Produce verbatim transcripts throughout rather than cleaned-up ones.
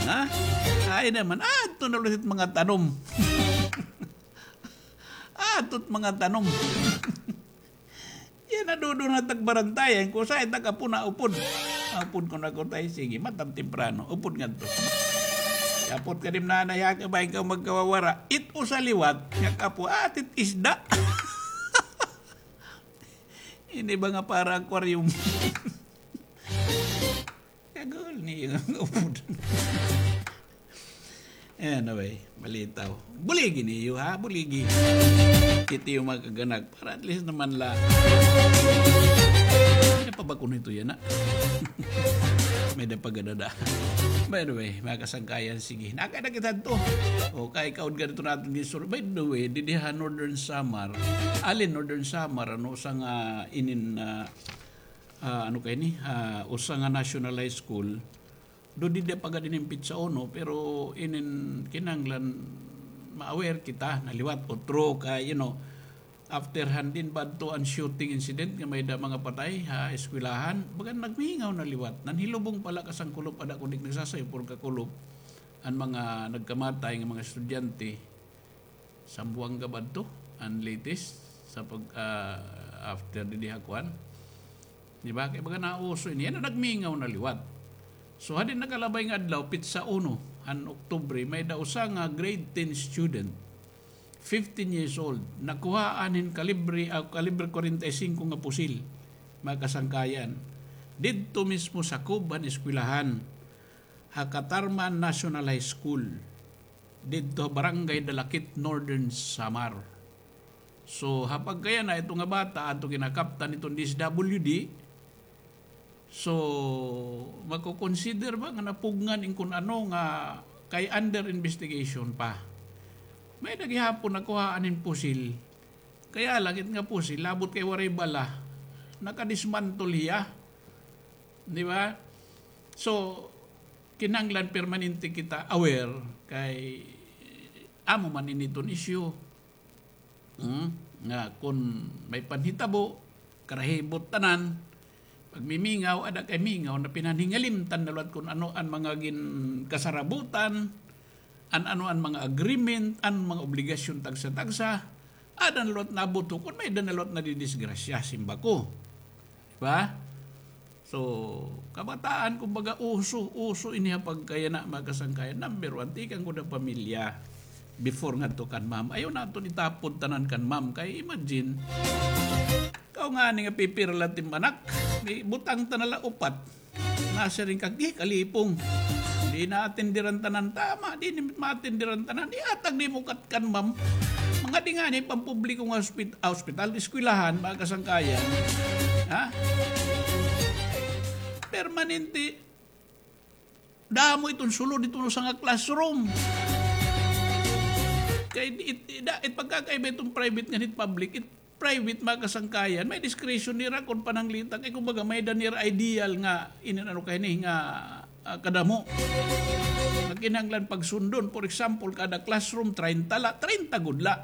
Ha? Ay naman, adto na ulit mga tanom. Adto it mga tanom. Yana, dudon na tagbarantayan ko, sa itak apo na upod. Upod ko na ko, tay, sige, matam temprano, upod ngadto. Kapot ka dim nanay, ha, kabay ka magkawawara. It usa liwat, nga kapo, atit isda. Ini ba nga para aquarium? Kagul niyo nga upod. Anyway, malitaw. Buligi niyo, ha? Buligi. Kiti iyo mga kaganak. Para at least naman la. May da pa ba kuno ito yana, ha? May da pa gadada. By the way, mga kasangkayan, sige. Nakada kita to. O, kay kaon ka dito natin din sur-, by the way, didi ha Northern Samar. Alin Northern Samar, ano, usa nga inin, ah, ah, ano kay ni? Ah, usa nga national high school. Do didi pa gad inin petsa uno, pero inin kinahanglan ma-aware kita na liwat, utro kay, you know, after han din ba adto an shooting incident nga may da mga patay ha eskwelahan, baga nagmihingaw na liwat. Nanhilubong pala ka Sangkulop, ada kundi nagsasayo puro ka Kulop an mga nagkamatay nga mga estudyante. Sambuanga ba adto an latest sa pag, ah, after didi ha kuan? Di ba? Kay baga nauso ini. Yana, nagmingaw na liwat. So, ha din nakalabay nga adlaw, petsa uno han Oktubre, may da usa nga grade ten student, fifteen years old, nakuhaan hin kalibre, ah, kalibre kwarenta y singko nga pusil, mga kasangkayan. Didto mismo sakob han eskwelahan, ha Catarman National High School, didto ha Barangay Dalakit, Northern Samar. So, ha pagkayana, ito nga bata, adto kinakaptan iton D S W D. So, mako-consider ba nga napugngan in kun ano nga kay under investigation pa. May da gihapon nakuhaan hin pusil. Kaya lang, it nga pusil, labot kay waray bala, nakadismantle hiya. Di ba? So, kinahanglan permanente kita aware kay amo man ini iton issue. Hmm? Nga kun may panhitabo, karahibot tanan, pagmimingaw, ada kay mingaw na pinanhingalimtan na liwat kun ano an mga ginkasarabutan, an ano an mga agreement, an mga obligasyon tagsa-tagsa, ada na liwat nabuto kun may da na liwat nadidisgrasya, simba ko. Di ba? So, kabataan, kumbaga, uso, uso ini ha pagkayana, mga kasangkayan. Number one, tikang gud ha pamilya. Before ngadto kan ma'am. Ayaw naton itapod tanan kan ma'am. Kay imagine, kaw ngani nga pipira la it im anak, di butang ta na la upat. Nasiring ka, di kalipong. Di naatenderan tanan. Tama, di ni maatenderan tanan. Ihatag nimo kat kan ma'am. Mga di ngani pampubliko nga ospit-, ah, ospital, eskwelahan, mga kasangkayan. Ha? Permanente. Damo iton sulod iton usa nga classroom. Kay it, it, it, it pagkakaiba iton private ngan it public, it private, mga kasangkayan, may discretion nira kon pananglitan. Kay kumbaga, may da nira ideal nga, inin ano kay ni, nga, ah, kadamo. Nga kinahanglan pagsundon. For example, kada classroom, treinta la, treinta gud la.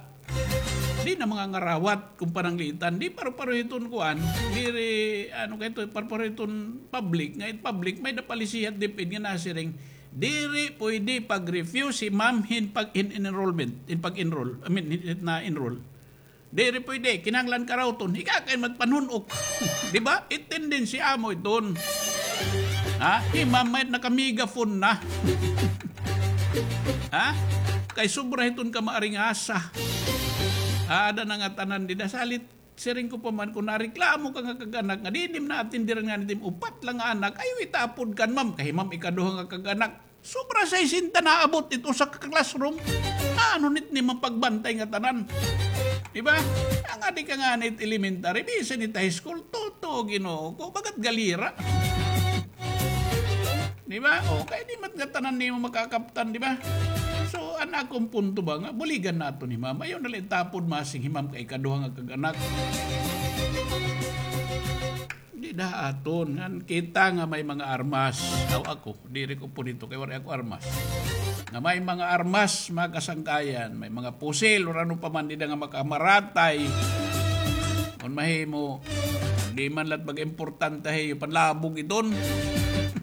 Di na mga ngarawat kon pananglitan. Di paro-paro iton kuan. Diri, ano kay ito, paro-paro iton public. Nga it public, may da palisihat DepEd nga nasiring. Diri pwede pag-refuse si ma'am hin pag-, hin enrollment, hin pag-enroll. I mean, hin, hin na-enroll. Diri pwede, kinahanglan karawton. Ika kay magpanhun-ok. Di ba? It tendency amo iton. Ha? Hi ma'am may naka-megaphone na. Ha? Kay sobra hiton kamaaringasa. Ada na nga tanan dida. Salit, siring ko pa man, kon nareklamo ka nga kag-anak nga di nim naatenderan ngani it im upat la nga anak, ayaw itapod kan ma'am. Kay ma'am, ikaduha nga kag-anak. Sobra sesenta naabot it usa ka classroom. Ano nit ni mapagbantay nga tanan? Di ba? Ang adi ka nga nit elementary, bisan it high school, tuto, Ginoo ko, bagat galira. Di ba? O, kay di mat nga tanan nimo makakaptan, di ba? So, an akon punto ba nga, buligan naton hi ma'am. Ayaw na la itapod masing hi ma'am kay ikaduha nga kag-anak. Di da aton, ngan kita nga may mga armas. Aw ako, diri ko punito kay waray ako armas. Nga may mga armas, mga kasangkayan, may mga pusil, or ano pa man, di da nga makamaratay. Kon mahimo, di man lat mag-importante hiyo, panlabog iton.